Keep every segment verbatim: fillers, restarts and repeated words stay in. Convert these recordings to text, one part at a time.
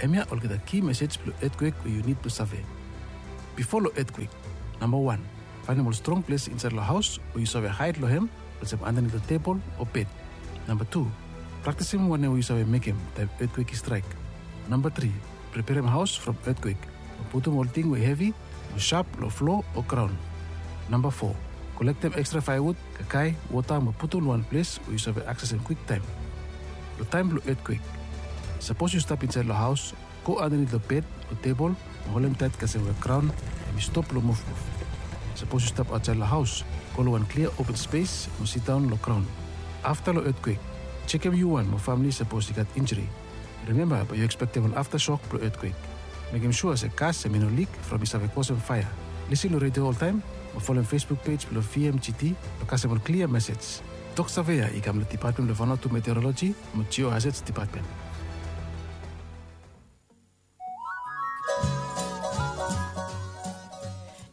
Hemia olgeta ki mesej blong etkwek we yu nid blong save. Bifo long etkwek, namba wan, faenem ol strong ples insaed long haos we yu save haed long hem, olsem andanit long tebol o bed. Namba tu, praktisim wanem we yu save mekem taem etkwek i straek. Namba tri, preperem haos from etkwek, mo putum ol ting we hevi o sap long flo o graon. Namba fo, kolektem ekstra faevud, kakae, wota mo putum long wan ples we yu save aksesem kwiktaem. Long taem blong etkwek, sapos yu stap insaed long haos, go andanit long bed o tebol mo holem taet kasem we graon hemi stop long muvmuv. Sapos yu stap aotsaed long haos, go long wan klia open spes mo sidaon long graon. Afta long etkwek, jekem yu wan mo famle sapos i gat injri. Rimemba bae yu ekspektem ol aftasok blong etkwek. Mekem sua se gas hemi no lik from i save kosem faea. Lisin long redio oltaem mo folem Facebook pej blong V M G T blong kasem ol klia mesej. Tok save ya i kam long Depatmen blong Vanuatu Meteoroloji mo Geohazards Depatmen.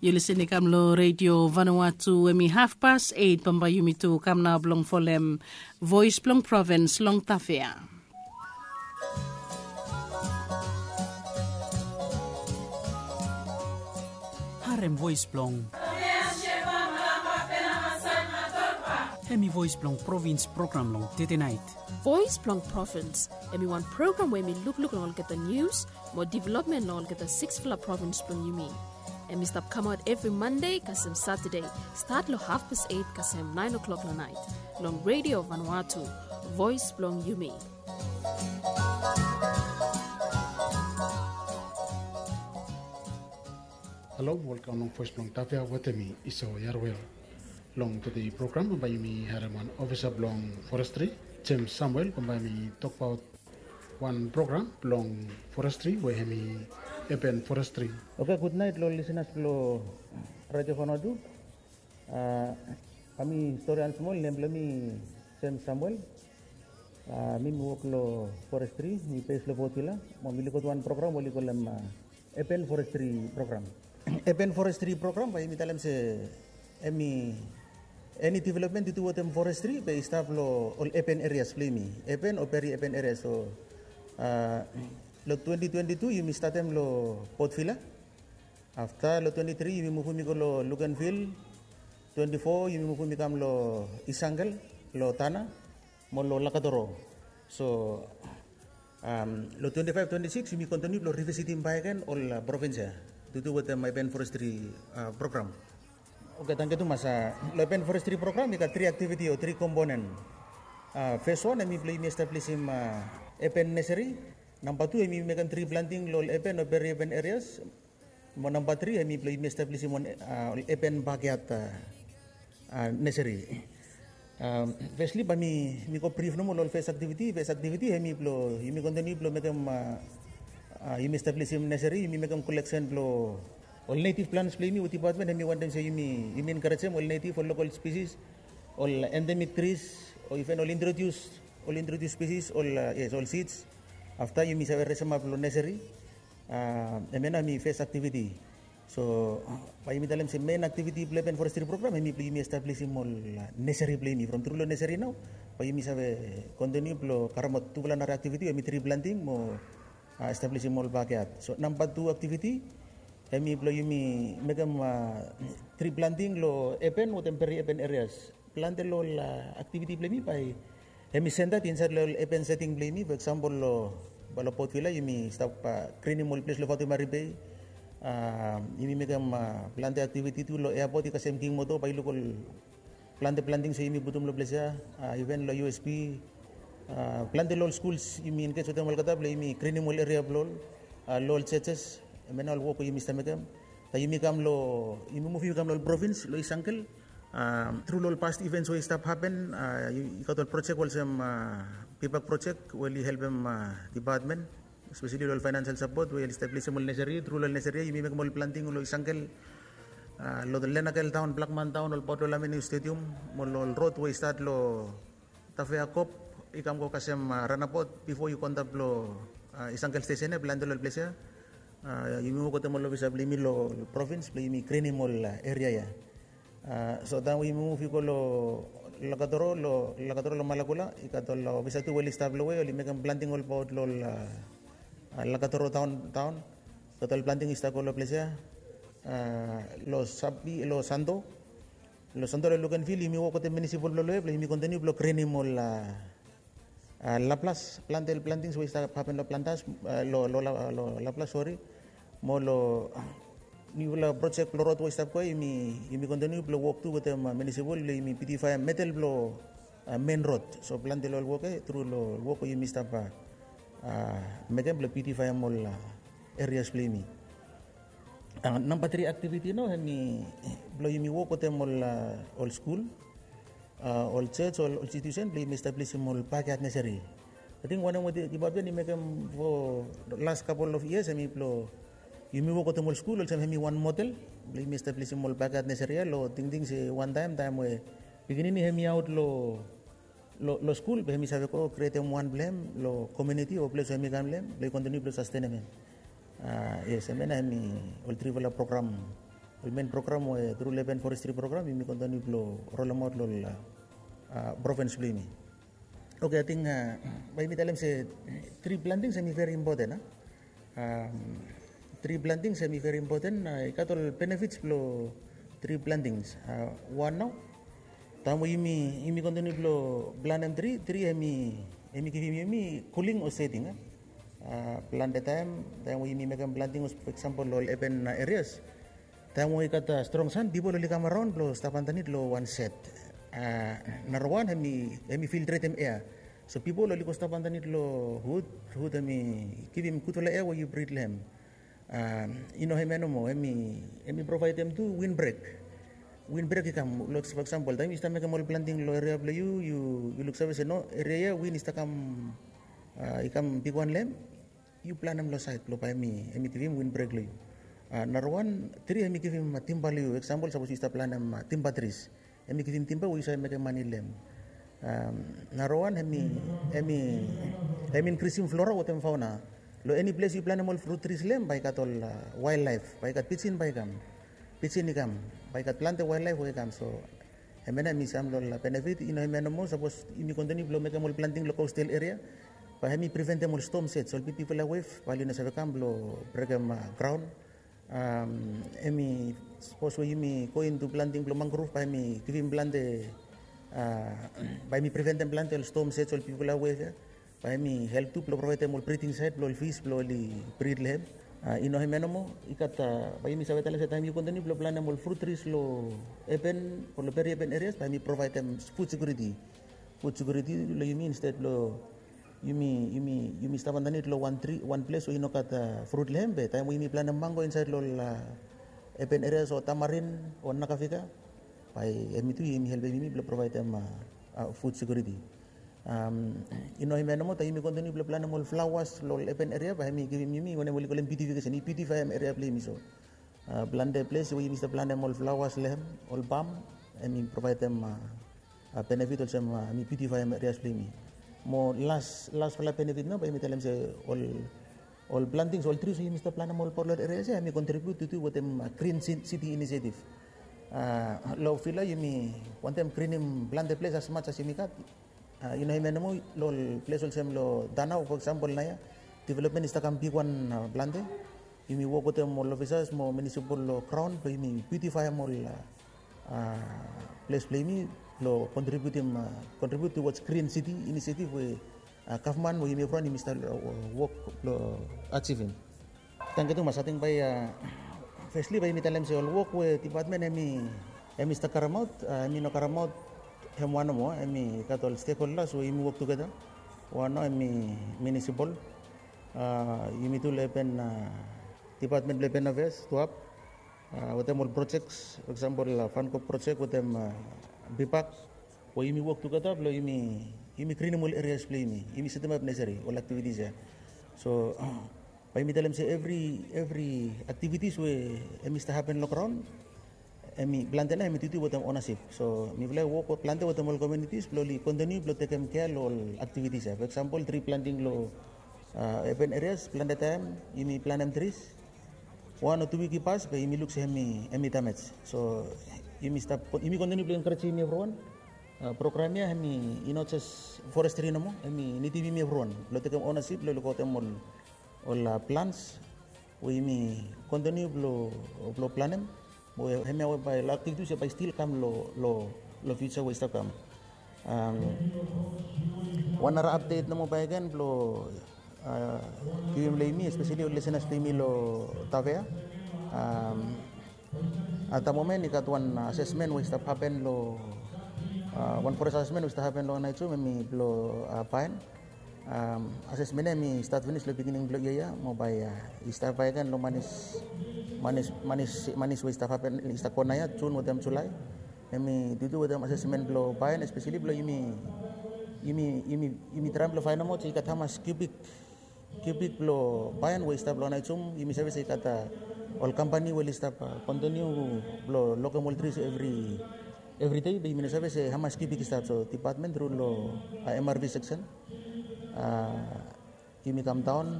Yu lisin i kam long redio Vanuatu, hemi hafpas eit, bambae yumi tu kam nao blong folem Voes blong Provins long Tafea. Harem voes blong, hemi voes blong provins program long tetenaet. Voes blong Provins hemi wan program we hemi lukluk long olgeta nius mo developmen long olgeta siksfala provins blong yumi. Hemi stap kamaot evri Mande kasem Satade, stat long hafpas eit kasem naen oklok long naet, long Redio Vanuatu, voes blong yumi. Halo, welkam long Voes blong Tafea wetem mi, Iso Yarwel. Long tede program bambae yumi harem wan ofisa blong forestri, James Samuel, bambae hemi tokbaot wan program blong forestri we hemi Urban Forestry. Oke, gudnaet long ol lisenas blong Radio Vanuatu. A, bae mi stori wan smol. Nem blong mi James Samuel. A, mi mi wok long forestri, mi bes long Port Vila. Mo mi lukot wan program we oli kolem, a, Urban Forestry Program. Urban Forestry Program bae yumi talem se hemi eni developmen tu tu wetem forestri bae i stap long ol urban areas blong yumi, urban o peri urban areas. So, a, long twenty twenty-two yumi statem long Port Vila. Afta long twenty-three yumi muvum i go long Luganville. Twenty-four yumi muvum i kam long East Uncle, long Tanna mo long Lakatoro. So, am, long twenty-five twenty-six yumi kontiniu blong rivisitim bakegen ol, a, provins ya tu tu wetem, a, Urban Forestry, a, Program. Oke, tangkiu tumas. A, long Urban Forestry Program i gat tri aktiviti o tri komponen. A, fes wan hemi blong yumi establisim, a, urban nursery. Namba tu hemi mekem tri planting long ol urban o peri urban areas. Mo namba tri hemi blong yumi establisim wan, a, urban backyard, a, a, nursery. A, fesli bae mi, mi go brif nomo long ol fes aktiviti. Fes aktiviti hemi blong yumi kontiniu blong mekem, a, a, yumi establisim nursery, yumi mekem koleksen blong ol native plants blong yumi we depatmen hemi wantem se yumi, yumi enkarejem ol native, ol local species, ol endemic trees, o iven ol introduce, ol introduce species, ol, a, yes, ol seeds. Afta yumi save resemap long nursery. A, hemia nao hemi fes aktiviti. So bae yumi talem se mein aktiviti blong Urban Forestry Program hemi blong yumi establisim ol, a, nursery blong yumi. From tru long nursery nao bae yumi save kontiniu blong karemaot tufala nara aktiviti, hemi tri planting mo, a, establisim ol backyard. So namba tu aktiviti hemi blong yumi mekem, a, tri planting long urban wetem peri urban areas. Plante long ol, a, aktiviti blong yumi bae hemi sentat insaed long ol urban seting blong yumi. For eksampol long, bae long Port Vila yumi stap, a, grinim ol ples long Fatu Mary Bay. A, yumi mekem, a, plante aktiviti tu long eapot, i kasem King Motor, bae yu luk ol plante plantings we yumi putum long ples ya. A, iven long U S P, a, plante long ol skuls yumi engej wetem olgeta blong yumi grinim ol eria blong ol, a, long ol jejes. Hemia nao ol wok we yumi stap mekem. Taem yumi kam long, yumi muv yumi kam long ol provins long East Uncle. A, tru long ol past events we i stap hapen, a, i, i gat ol projek olsem, a, PPAC projek we oli helpem, a, depatmen, espeseli long ol financial support we oli establisim ol nursery. Tru long ol nursery yumi mekem ol planting long East Uncle, a, long Lenakel Town, Blackman Town, ol paot long Lamini Stadium, mo long ol rod we i stat long Tafea Kop i kam go kasem, a, ranabaot bifo yu go antap long, a, East Uncle stesen ya, plante long ol ples ya. A, yumi wok wetem ol ofisa blong yumi long provins blong yumi grinim ol, a, eria ya. A, so taem we yumi muv i go long Lakatoro, long Lakatoro long Malakula, i gat ol, a, ofisa tu we oli stap long we oli mekem planting ol paot long ol, a, Lakatoro taon taon. Total planting i stap go long ples ya. Long sabi long santo, long santo long lukenvil yumi wok wetem minisipol blong loya blong yumi kontiniu blong grinim ol laplas plantel plantings we i stap hapen long plantas, long laplas, sori. Mo long niufala projek blong rod we i stap go ya, yumi kontiniu blong wok tu wetem minisipol blong yumi bitifaem medel blong men rod. So plantel ol wok ya tru long wok we yumi stap mekem blong bitifaem ol erias blong yumi. Namba tri aktiviti nao hemi blong yumi wok wetem ol skul, ol jej, ol institusen blong yumi establisim ol bakiat neseri. Ating wanem we dipatmen i mekem fo las kapol of yias hemi blong yumi wok wetem ol skul olsem hemi wan model blong yumi establisim ol bakiat neseri ya long tingting se wantaem taem we pikinini hemi aot long long skul be hemi save go krietem wan blong hem long komuniti o ples we hemi kam long hem blong i kontiniu blong sastenem hem. Yes, hemia nao hemi ol trifala program, ol men program we tru long urban forestry program yumi kontiniu blong rolemaot long ol provens blong yumi. Oke, ating bae yumi talem se tri plantings hemi veri impoten a tri plantings hemi veri impoten. I gat ol benefits blong tri plantings. Wan nao, taem we yumi kontiniu blong planem tri, tri hemi givim yumi kuling o seting. Plante taem taem we yumi mekem planting, fo eksampol long ol urban erias, taem we i gat strong san pipol oli kam araon blong stap andanit long wan set. Narawan hemi filtretem ea, so pipol oli go stap andanit long hud. Hud hemi givim gudfala ea we yu brit long hem. I no hemia nomo, hemi provaedem tu win brek. Win brek i kam, fo eksampol taem yu stap mekem ol planting long eria blong yu, yu luksave se no, eria ya win i stap kam i kam bigwan long hem, yu planem long saed blong bae hemi givim win brek long yu. Narawan tri hemi givim timba long yu. Eksampol sapos yu stap planem timba tris, hemi givim timba we yu save mekem mane long hem. Narawan hemi inkrisim flora wetem fauna. Long eni ples yu planem ol frut tris long hem bae i gat ol wael laef, bae i gat pijin bae i kam. Pijin i kam, bae i gat plante wael laef we i kam. So hemia nao hemi sam long ol benefit. I no hemia nomo, sapos yumi kontiniu blong mekem ol planting long kostal eria, bae hemi priventem ol stom sets, ol bigbigfala wef bae oli no save kam blong brekem graon. Hemi sapos we yumi go intu planting blong mangrov bae hemi givim plante, bae hemi priventem plante ol stom sets, ol bigbigfala wef ya. Bae hemi help tu blong provaedem ol briding saet blong ol fis blong oli brit long hem. I no hemia nomo, i gat, bae yumi save talem se taem yu kontiniu blong planem ol frut tris long urban o long peri urban erias bae hemi provaedem fud sekuriti. Fud sekuriti long yumi, insted blong yumi yumi yumi stap andanit long wan tri, wan ples we i no gat frut long hem, be taem we yumi planem mango insaed long ol urban erias o tamarin o nakafika, bae hemi tu hemi helpem yumi blong provaedem fud sekuriti. I no hemia nomo, taem yumi kontiniu blong planem ol flaoas long ol urban eria bae hemi givim yumi wanem oli kolem biutifikesen, i biutifaem eria blong yumi. So plante ples we yumi stap planem ol flaoas long hem, ol bam, hemi provaedem benefit olsem hemi biutifaem erias blong yumi. Mo las, lasfala benefit nao bae yumi talem se ol ol plantings, ol tris we yumi stap planem ol bot long ol erias ya hemi kontribiut tu wetem Green City Initiative. Long vila yumi wantem grinim plante ples as much as yumi gat. I no hemia nomo, long ol ples olsem long Tanau fo eksampol naoia, developmen i stap kam bigwan plante. Yumi wok wetem ol ofisas mo minisipol long graon blong yumi biutifaem ol ples blong yumi blong kontribiutim, kontribiut towards Green City Initiative we gavman we yumi evriwan yumi stap wok blong ajivim. Tangkiu tumas. Ating bae fesli bae yumi talem se ol wok we dipatmen hemi hemi stap karemaot, hemi no karemaot hem wan nomo, hemi gat ol stekholdas we yumi wok tugeta. Wan nao hemi minisipol, yumi tu long urban, dipatmen blong urban afeas, tuap, wetem ol projek, fo eksampol fankop projek wetem bipak, we yumi wok tugeta blong yumi yumi grinim ol erias blong yumi, yumi setemap neseri ol aktivitis ya. So bae yumi talem se evri evri aktivitis we hemi stap hapen long graon, hemi plante nao hemi duti wetem onasip. So mifala i wok plante wetem ol komunitis blong oli kontiniu blong tekem kea long ol aktivitis ya. Fo eksampol tri planting long urban erias, plante taem yumi planem tris, wan o tu wik i pas be yumi luk se hemi hemi damej. So yumi stap, yumi kontiniu blong enkarejim yumi evriwan. Program ya hemi i no jes forestri nomo, hemi nidim yumi evriwan blong tekem onasip blong lukaotem ol ol plans we yumi kontiniu blong planem, we hemia we bae aktivitis ya bae stil kam long fiusa we i stap kam. Wan nara apdet nomo bae gen blong givim long yumi, espeseli ol lisenas blong yumi long Tavea. At da momen i gat wan asesmen we i stap hapen long wan fores asesmen we i stap hapen long Anaijum, hemi blong Paen. Asesmen ya hemi stat finis long bigining blong yia ya mo bae i stap bae gen long manis manis manis manis we i stap hapen, i stap go naoia Jun wetem Julae. Hemi dudu wetem asesmen blong Paen, espeseli blong yumi yumi yumi yumi traem blong faenemaot se i gat hamas kiubik kiubik blong Paen we i stap long Anaijum. Yumi save se i gat ol kampani we oli stap kontiniu blong lokem ol tris evri evri dei, be yumi no save se hamas kiubik i stap. So dipatmen tru long MRV seksen, yumi kam daon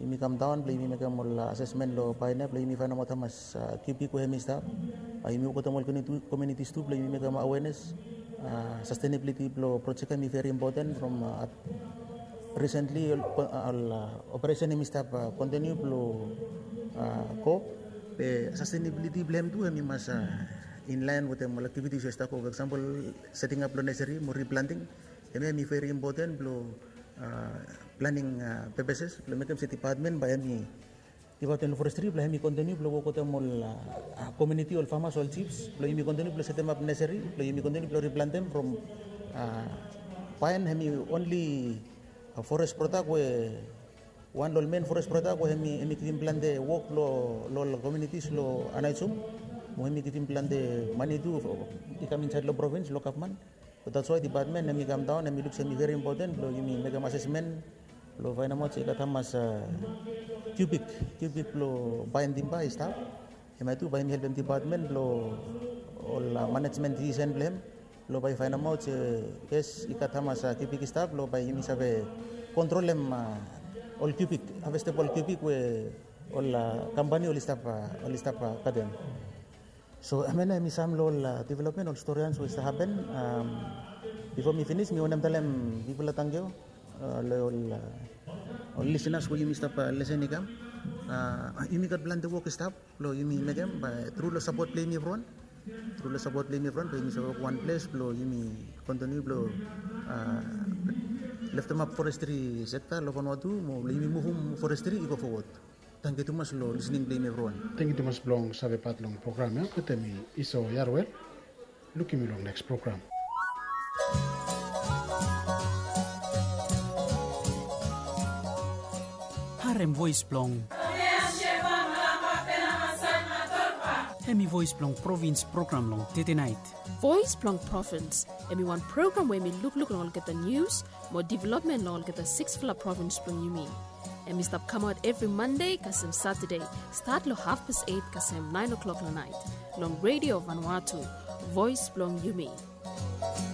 yumi kam daon blong yumi mekem ol asesmen long Paen ya blong yumi faenemaot hamas kiubik we hemi stap. Yumi wok wetem ol komunitis tu blong yumi mekem awenes. Sastenabiliti blong projek ya hemi veri impoten from at risentli ol operesen hemi stap kontiniu blong go, be sastenabiliti blong hem tu hemi mas inlaen wetem ol aktivitis we i stap go. For eksampol, setingap blong neseri mo riplanting, hemia hemi veri impoten blong planing pepeses blong mekem se dipatmen bae hemi dipatmen blong forestri blong hemi kontiniu blong wok wetem ol komuniti, ol famas, ol jifs blong yumi kontiniu blong setemap neseri blong yumi kontiniu blong riplantem from Paen. Hemi onli fores prodak we wan long ol men fores prodak we hemi givim plante wok long ol komunitis long Anaijum, mo hemi givim plante mane tu i kam insaed long provins long gavman. So that's why dipatmen hemi kam daon, hemi luk se hemi veri impoten blong yumi mekem asesmen blong faenemaot se i gat hamas kiubik kiubik blong Paen timba i stap. Hemia tu bae hemi helpem dipatmen blong ol manejmen disisen blong hem blong bae i faenemaot se yes, i gat hamas kiubik i stap blong bae yumi save kontrolem ol kiubik, havestebol kiubik we ol kampani oli stap oli stap katem. So hemia nao hemi sam long ol developmen, ol storians we i stap hapen. Bifo mi finis, mi wantem talem bigfala tangkiu long ol lisenas we yumi stap lesen i kam. Yumi gat plante wok i stap blong yumi mekem, bae tru long sapot blong yumi evriwan, tru long sapot blong yumi evriwan bae yumi save wok wan ples blong yumi kontiniu blong leftemap forestri sekta long Vanuatu mo blong yumi muvum forestri i go fowod. Tangkiu tumas long lisening blong yumi evriwan. Tangkiu tumas blong save pat long program ya. Wetem mi Iso Yarwel. Lukim yu long neks program. Harem voes blong Hemi voes blong provins program long tetenaet. Voes blong provins hemi wan program we hemi lukluk long olgeta nius mo developmen long olgeta siksfala provins blong yumi. Hemi stap kamaot evri Mande kasem Satade, stat long hafpas et kasem naen klok long naet, long Redio Vanuatu, voes blong yumi.